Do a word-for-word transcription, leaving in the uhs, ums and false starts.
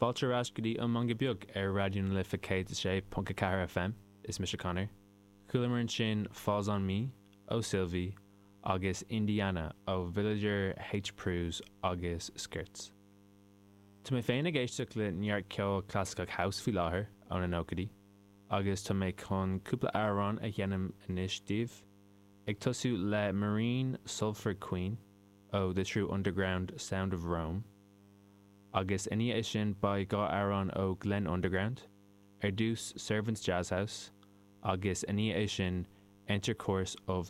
Fáilte ar ais go dtí An Meangadh Beag ar Raidió na Life céad a sé ponc a ceathair FM, is mise Conor. Chualamar ansin Falls on Me ó Sylvie agus Indiana ó Villager H. Pruse agus Skirts. Tá mé féin ag éisteacht le neart ceol clasaiceach house faoi láthair ó na nóchaidí, agus tá mé chun cúpla amhrán a sheinm anois daoibh, ag tosú le Marine Sulphur Queen ó The True Underground Sound of Rome. Agus ina dhiaidh sin beidh dhá amhrán ó Glenn Underground, ar dtús Servants Jazz House, agus ina dhiaidh sin Enter Course of